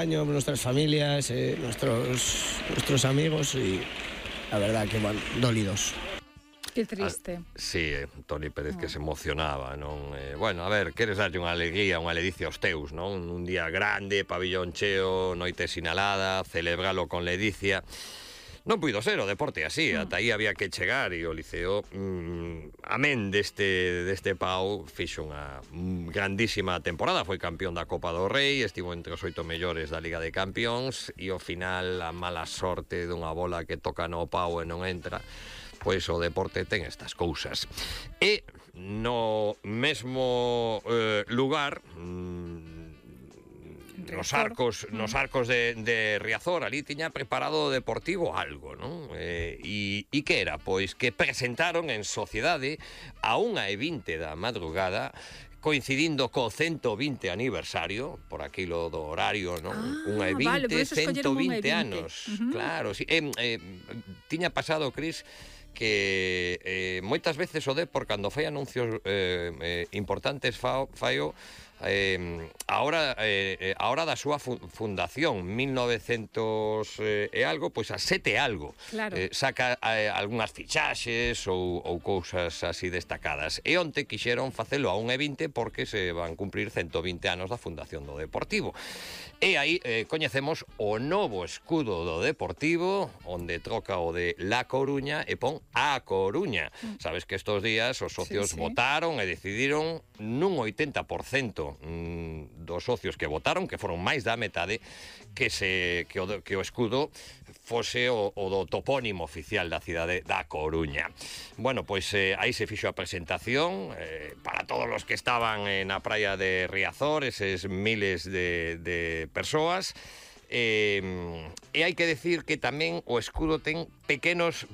año, nuestras familias, nuestros amigos y la verdad que van dolidos. Que triste. Sí, Toni Pérez que se emocionaba, non? Bueno, a ver, queres darlle unha alegría, unha ledicia aos teus, non? Un día grande, pabillón cheo, noite sinalada, celebralo con ledicia. Non puido ser o deporte así, ata aí había que chegar e o Liceo, amén deste pau, fixo unha grandísima temporada, foi campeón da Copa do Rei, estivo entre os 8 mellores da Liga de Campións e ao final a mala sorte dunha bola que toca no pau e non entra. Pois o deporte ten estas cousas. E no mesmo lugar, nos arcos de Riazor, ali tiña preparado o Deportivo algo, non? E que era? Pois que presentaron en sociedade a 1:20 da madrugada, coincidindo co 120 aniversario, por aquilo do horario, non? 1:20, vale, 120 anos. Claro, sí. Tiña pasado, Cris, que moitas veces o Depor, cando fai anuncios importantes, faio a hora da súa fundación, 1900 e algo, pois a 7 algo. Claro. Saca algunhas fichaxes ou cousas así destacadas. E onte quixeron facelo a 1:20 porque se van cumprir 120 anos da fundación do Deportivo. E aí coñecemos o novo escudo do Deportivo, onde troca o de La Coruña e pon A Coruña. Sabes que estos días os socios votaron e decidiron nun 80% dos socios que votaron, que foron máis da metade, que o escudo fose o do topónimo oficial da cidade da Coruña. Bueno, pois aí se fixo a presentación para todos os que estaban na praia de Riazor, eses miles de persoas. E hai que decir que tamén o escudo ten pequenas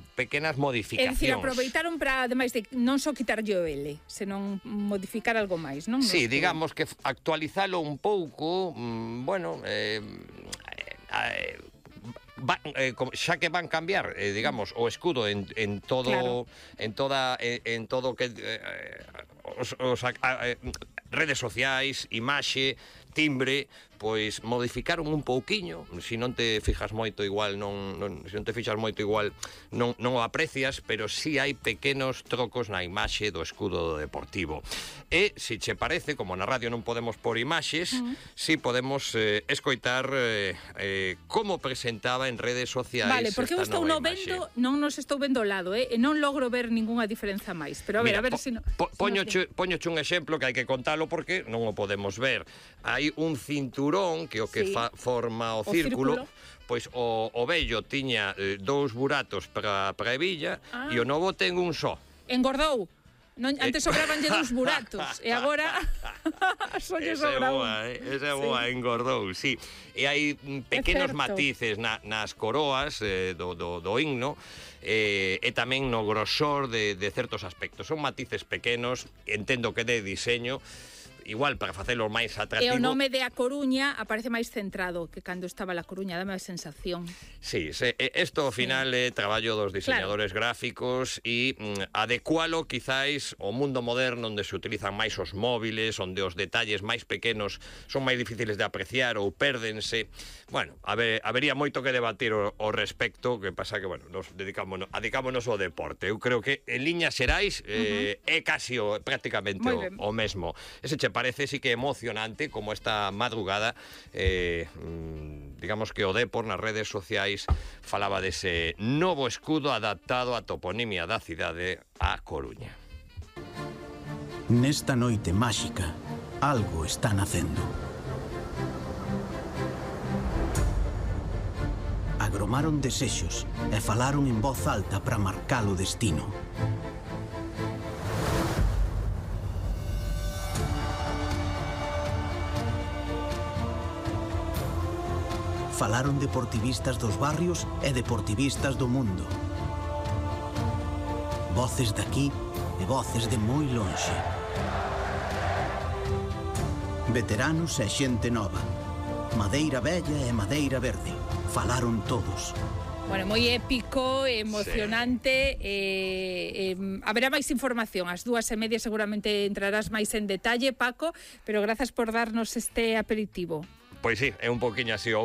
modificacións. É dicir, aproveitaron para, ademais de non só quitarlle o L, senón modificar algo máis, non? Sí, digamos que actualizalo un pouco, bueno, xa que van cambiar, digamos, o escudo en todo, claro, en todo que redes sociais, imaxe, timbre, pois modificaron un pouquiño. Se non te fixas moito igual non o aprecias, pero sí hai pequenos trocos na imaxe do escudo do Deportivo. E, se che parece, como na radio non podemos por imaxes, sí podemos escoitar como presentaba en redes sociais. Vale, porque eu estou non nos estou vendo ao lado, e non logro ver ningunha diferenza máis. Pero a ver se Poñoche un exemplo que hai que contalo porque non o podemos ver. Hai un cinturón que o que forma o círculo. Pois o vello tiña 2 buratos para a hebilla e o novo ten un só. Engordou. Antes sobrabanlle 2 buratos e agora só lle sobra un. Esa é boa, engordou, sí. E hai pequenos matices nas coroas do himno, e tamén no grosor de certos aspectos. Son matices pequenos, entendo que de diseño, igual para facelo máis atractivo. E o nome de A Coruña aparece máis centrado que cando estaba La Coruña, dame a sensación. Sí, isto ao final é traballo dos diseñadores gráficos e adecualo quizáis ao mundo moderno onde se utilizan máis os móviles, onde os detalles máis pequenos son máis difíciles de apreciar ou pérdense. Bueno, habería moito que debatir ao respecto, que pasa que, bueno, nos dedicámonos ao deporte. Eu creo que en liñas xerais é casi prácticamente o mesmo. Ese che parece sí que emocionante como esta madrugada, digamos que o Depor nas redes sociais falaba dese novo escudo adaptado á toponimia da cidade A Coruña. Nesta noite máxica, algo está nacendo. Agromaron desexos e falaron en voz alta para marcar o destino. Falaron deportivistas dos barrios e deportivistas do mundo. Voces daqui e voces de moi lonxe. Veteranos e xente nova. Madeira vella e madeira verde. Falaron todos. Bueno, moi épico, emocionante. Haberá máis información. Ás 2:30 seguramente entrarás máis en detalle, Paco, pero grazas por darnos este aperitivo. Pois sí, é un poquinho así o